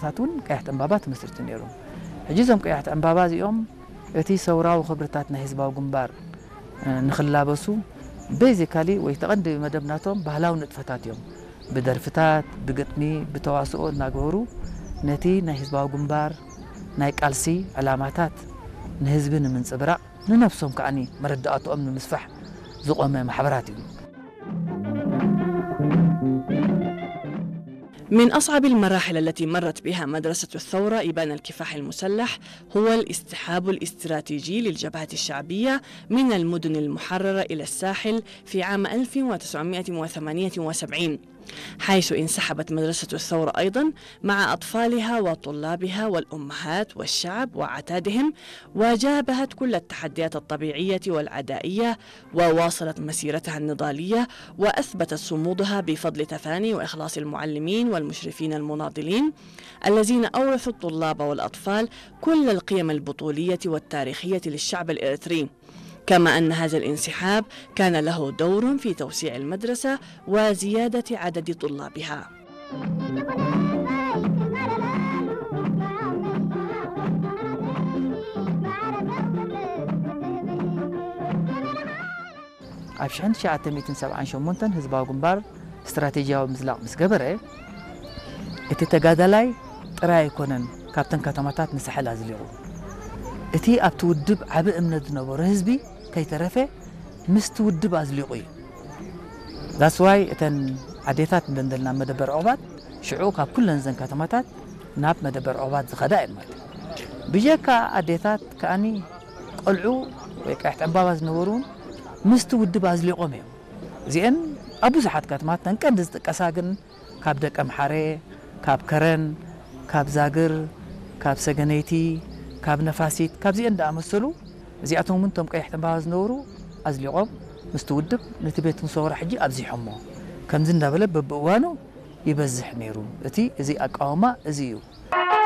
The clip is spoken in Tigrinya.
ሳት እውን ቀያሕቲ ዕምባባ ትመስርቱ ነይሮም። ሕጂ እዞም ቀያሕቲ ዕምባባ እዚኦም እቲ ሰውራዊ ክብርታት ናይ ህዝባዊ ግንባር፣ እ፣ ንኽላበሱ ቤዚካሊ ወይ ተቐንዲ መደብ ናቶም ባህላዊ ንጥፈታት እዮም። ብደርፍታት፣ ብግጥሚ፣ ብተዋስኦ እናገበሩ ነቲ ናይ ህዝባዊ ግንባር ናይ ቃልሲ ዕላማታት ንህዝቢ ንምንጽብራቕ፣ ንነብሶም ከኣኒ መረዳእቶኦም ንምስፋሕ ዝቖመ ማሕበራት እዩ። من أصعب المراحل التي مرت بها مدرسة الثورة إبان الكفاح المسلح هو الاستحاب الاستراتيجي للجبهة الشعبية من المدن المحررة إلى الساحل في عام ألف وتسعمائة وثمانية وسبعين، حيث انسحبت مدرسة الثورة أيضا مع أطفالها وطلابها والأمهات والشعب وعتادهم، وجابهت كل التحديات الطبيعية والعدائية، وواصلت مسيرتها النضالية، وأثبتت صمودها بفضل تفاني وإخلاص المعلمين والمشرفين المناضلين الذين أورثوا الطلاب والأطفال كل القيم البطولية والتاريخية للشعب الإريتري. كما أن هذا الانسحاب كان له دور في توسيع المدرسة وزيادة عدد طلابها. ኣብ ሽሕን ትሽዓተ ሚእትን ሰብዓን ሸሞንተን ህዝባዊ ግንባር ስትራቴጂያዊ ምዝላቕ ምስ ገበረ፣ እቲ ተጋዳላይ ጥራይ ኣይኮነን ካብተን ከተማታት ንሳሕል ኣዝሊቑ። እቲ ኣብቲ ውድብ ዓቢ እምነት ዝነበሮ ህዝቢ ከይተረፈ ምስቲ ውድብ ኣዝሊቑ እዩ። That's why እተን ኣዴታት እንደንደልና መደበር ዕቑባት ሽዑ ካብ ኩለን ዘን ከተማታት ናብ መደበር ዕቑባት ዝኸዳ እየን ማለት እዩ። ብጀካ ኣዴታት ከኣኒ ቆልዑ ወይ ቀያሕቲ ዕምባባ ዝነበሩ እውን ምስቲ ውድብ ኣዝሊቖም እዮም። እዚአን ኣብ ብዙሓት ከተማታት ቀንዲ ዝጥቀሳ ግን ካብ ደቀምሓረ፣ ካብ ከረን፣ ካብ ዛግር፣ ካብ ሰገነይቲ፣ ካብ ነፋሲት፣ ካብዚአን ዝኣመሰሉ እዚኣቶም እውን እቶም ቀያሕቲ ዕምባባ ዝነበሩ ኣዝሊቖም ምስቲ ውድብ ነቲ ቤት ሰውራ ሕጂ ኣብዚሖሞ። ከምዚ እንዳበለ በብእዋኑ ይበዝሕ ነይሩ። እቲ እዚ ኣቃውማ እዚ እዩ።